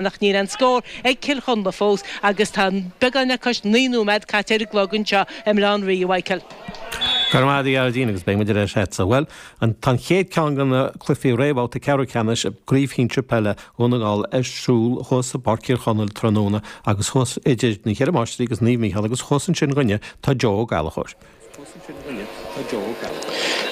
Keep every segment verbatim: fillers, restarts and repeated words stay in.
Ach níl aon scór ag Cill Chonla fós agus tá beagán le cois naoi nóiméad caite ar an gclog anseo i mBaile Átha an Rí, a Mhichael. Go raibh maith agat, a Ghearóidín, agus beidh muid ar ais agatsa. Bhuel, an tá an chéad ceann de na cluichí réamhbhabhta ceathrú ceannais i gCraobh Shinsir Peile Dhún na nGall ar siúl thuas i bPáirc Thír Chonaill tráthnóna agus thuas idir na Ceithre Máistrí agus Naomh Mícheál agus thuas ansin dhúinne tá Joe Ó Gallchóir.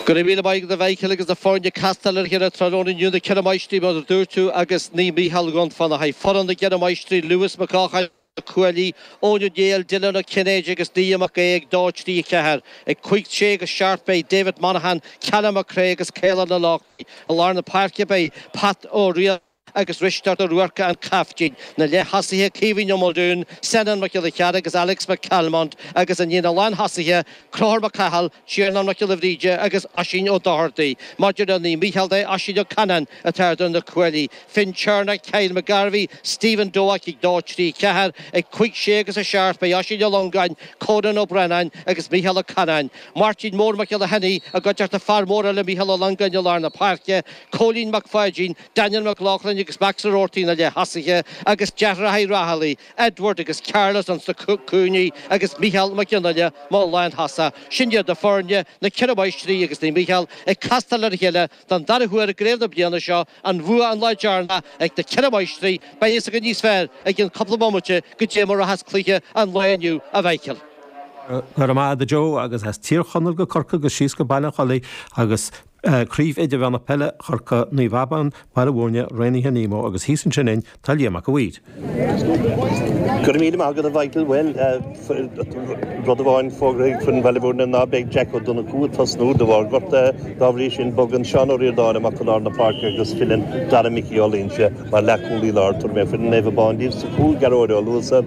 Go raibh míle maith agat, a Mhichael, agus na foirne ag castáil ar a chéile tráthnóna inniu, na Ceithre Máistrí mar a dúirt tú agus Naomh Mícheál Dhún Fionnachaidh. Foireann na gCeithre Máistrí, Lewis Mac Eochaidh, na cuaillí, Eoin Ó Néill, Dylan Ó Cinnéide agus Liam Mac Aodha ag dó, trí, a ceathair. Ag cúig, sé agus seacht beidh David Monaghan, Callum Mac Craith agus Caolan Ó Loughney. I lár na páirce beidh Pat Ó Riada agus Risteard Ó Ruairc an caiftín. Na leath-thosaithe Caoimhín Ó Muldoon, Senan Mac Giolla Chearra agus Alex McCalmont agus an líne lánthosaithe Conchúr Mac Cathal, Tiarnán Mac Giolla Bhríde agus Oisín Ó Dochartaigh. Maidir le Naomh Mícheál de, Oisín Ó Canáin atá ar dhuine de na cuaillí. Finn Chernock, Kyle McGarvey, Stephen Doak ag dó, trí, ceathair, ag cúig, sé agus a seacht beidh Oisín Ó Longáin, Conan Ó Braonáin agus Mícheál Ó Canáin. Máirtín Mór Mac Giolla Chainnigh i gcuideachta fear mór eile Mícheál Ó Longáin i lár na páirce, Cóilín Mac Pháidín, Daniel Mac Lochlainn agus Max Ó Roarty na leath-thosaithe agus deartháireacha Raghallaigh, Edward agus Carlos ins na cúinní agus Mícheál Mac Fhionnghaile mar lánthosach. Sin iad na foirne, na Ceithre Máistrí agus Naomh Mícheál ag castáil ar a chéile don dara huair i gcraobh na bliana seo, an bhua an lá deireanach ag na Ceithre Máistrí. Beidh fhios againn níos fearr i gcionn cúpla bomaite goidé mar a rachas cluiche an lae inniu, a Mhichael. Go raibh maith agat, a Joe, agus as Tír Chonaill go Corcaigh agus síos go Baile an Chollaigh agus Craobh Idirmheánach Peile Chorcaí Naomh Abán, Baile Bhúirne, Raonaithe Nemo agus thíos ansin linn tá Liam Mac a' Mhaoir. Go raibh míle maith agat, a Mhichael. Bhuel, rud amháin fógraithe ag foireann Bhaile Bhúirne ná beidh Jack Ó Donnchú ag tosnú de bharr gortaithe. Dá bhrí sin, bogann Seán Ó Ríordáin amach go lár na páirce agus filleann Dara Micí Ó Loingsigh mar leathchúlaí láir. Tabharfaidh mé foireann Naomh Abán daoibh sa chúl, Gearóid Ó Luasa,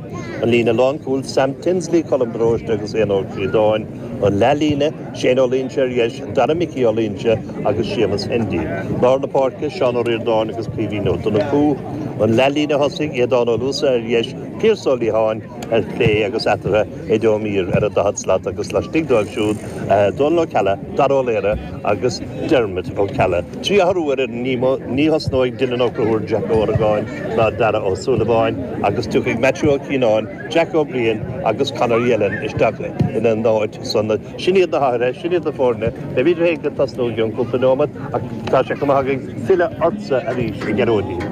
an líne lánchúil, Sam Tinsley, Colm de Róiste agus Éanna Ó Críodáin, an leathlíne, Shane Ó Loingsigh ar dheis, Dara Micí Ó Loingsigh agus Séamus Hendy. Lár na páirce, Seán Ó Ríordáin agus Caoimhín Ó Donnchú. An leathlíne thosaigh, Aodán Ó Luasa ar dheis, Pearse Ó Liatháin ar chlé agus eatarthu Eddie Ó Mír ar an daichead slat agus laistigh dóibh siúd Dónal Ó Ceallaigh, Dara Ó Laoire agus Dermot Ó Ceallaigh. Trí athrú ar fhoireann Nemo, ní thosnóidh Dylan Ó Conchúir, Jack Ó Argáin ná Dara Ó Súilleabháin agus tiocfaidh Matthew Ó Cianáin, Jack Ó Briain agus Conor Yellen isteach ina n-áit san. Sin iad na hathruithe, sin iad na foirne. Beimid réidh le tosnú i gcionn cúpla nóiméad ach tá sé chomh maith againn filleadh ortsa arís, a Ghearóidín.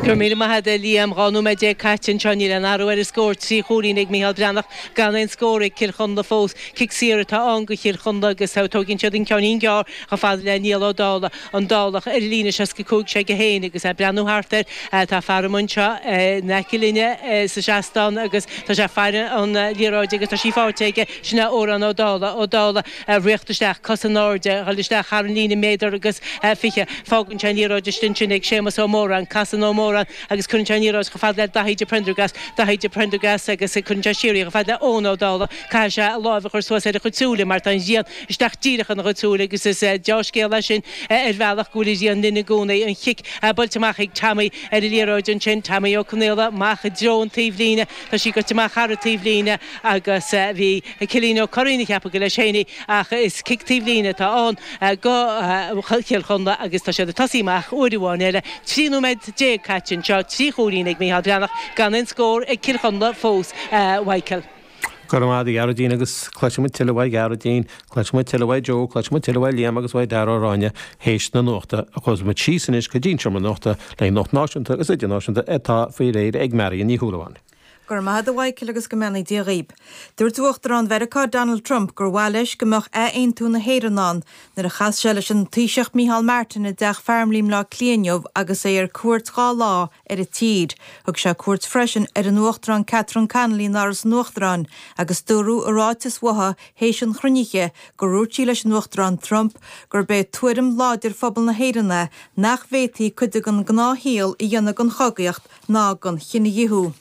Go raibh míle maith agat, a Liam. Dhá nóiméad déag caite anseo, níl aon athrú ar an scór. Trí chúilín ag Mícheál Breathnach, gan aon scór ag Cill Chonla fós. Cic saor atá ann do Chill Chonla agus tógann siad an ceainnín gearr chomh fada le Niall Ó Dálaigh. An Dálach ar an líne seasca cúig s'aige féin agus é ag breathnú thart air. Tá fear amuigh anseo in aice linne sa seastán agus tá sé ag faire an liathróid agus tá sí faighte aige. Sin é Odhrán Ó Dálaigh. Ó Dálaigh ag rith isteach, cosa in airde, a dhul isteach thar an líne méadar agus fiche. Fágann sé an liathróid istigh ansin ag Séamus Ó Móráin. Casann Ó Móráin agus cuireann sé an liathróid chomh fada le Daithí de Prendergast. Daithí de Prendergast agus cuireann sé siar í chomh fada le Eoin Ó Dálaigh. Caithfidh sé a láimh a chur suas ar a chuid súile mar tá an ghrian isteach díreach ina chuid súile agus is deá-scéal é sin ar bhealach go bhfuil an ghrian linn i gcónaí. An chic buailte amach ag Tommy ar an liathróid ansin, Tommy Ó Conaola amach i dtreo an taobhlíne. Tá sí goite amach thar an taobhlíne agus bhí Cillian Ó Curraoin ag ceapadh gur leis féin í ach is cic taobhlíne atá ann do Chill Chonla agus tá siad ag tosaí amach uair amháin eile. Trí nóiméad déag caite anseo, trí chúilín ag Mícheál Breathnach, gan aon scór ag Cill Chonla fós, a Mhichael. Go raibh maith agat, a Ghearóidín, agus cloisfidh muid tuilleadh uaidh Ghearóidín, cloisfidh muid tuilleadh uaidh Joe, cloisfidh muid tuilleadh uaidh Liam agus uaidh Dara Ó Ráinne théis na nuachta. Gabhfaidh muid síos anois go dtí an seomra nuachta le nuacht náisiúnta agus idirnáisiúnta atá faoi réir ag Marion Ní Shúilleabháin. Go raibh maith agat, a Mhichael, agus go mbeannaí Dia dhaoib. Dúirt Uachtarán Mheiriceá Donald Trump gur mhaith leis go mbeadh athaontú na hÉireann ann nuair a chas sé leis an Taoiseach Micheál Martin i dTeach Farmleigh i mBleá Cliath inniu agus é ar cuairt dhá lá ar an tír. Thug sé cuairt freisin ar an Uachtarán Catherine Connolly in Áras an Uachtaráin agus dúradh i ráiteas uathu théis an chruinnithe gur dhúirt sí leis an Uachtarán Trump gurb é tuairim láidir phobal na hÉireann é nach bhféadfaí cuid den ghnáthshaol a dhéanamh den chogaíocht ná den chinedhíothú.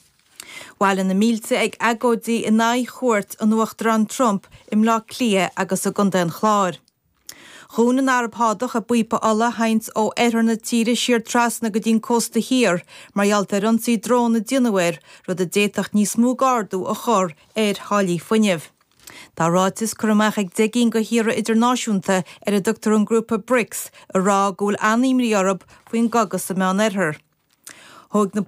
Bhailigh na mílte ag agóidí in aghaidh chuairt an Uachtaráin Trump i mBleá Cliath agus i gContae an Chláir. Dhún an Araib Shádach a bpíopa ola a théanns ó oirthear na tíre siar trasna go dtí'n cósta thiar mar gheall ar ionsaí drón a déanadh air, rud a d'fhéadfadh níos mó d'ardú a chur ar tháillí fuinnimh. Tá ráiteas curtha amach ag deich gcinn de thíortha idirnáisiúnta ar a dtugtar an grúpa BRICS ag rá go bhfuil an-imní orthu faoin gcogadh sa Meánoirthear. Thóg na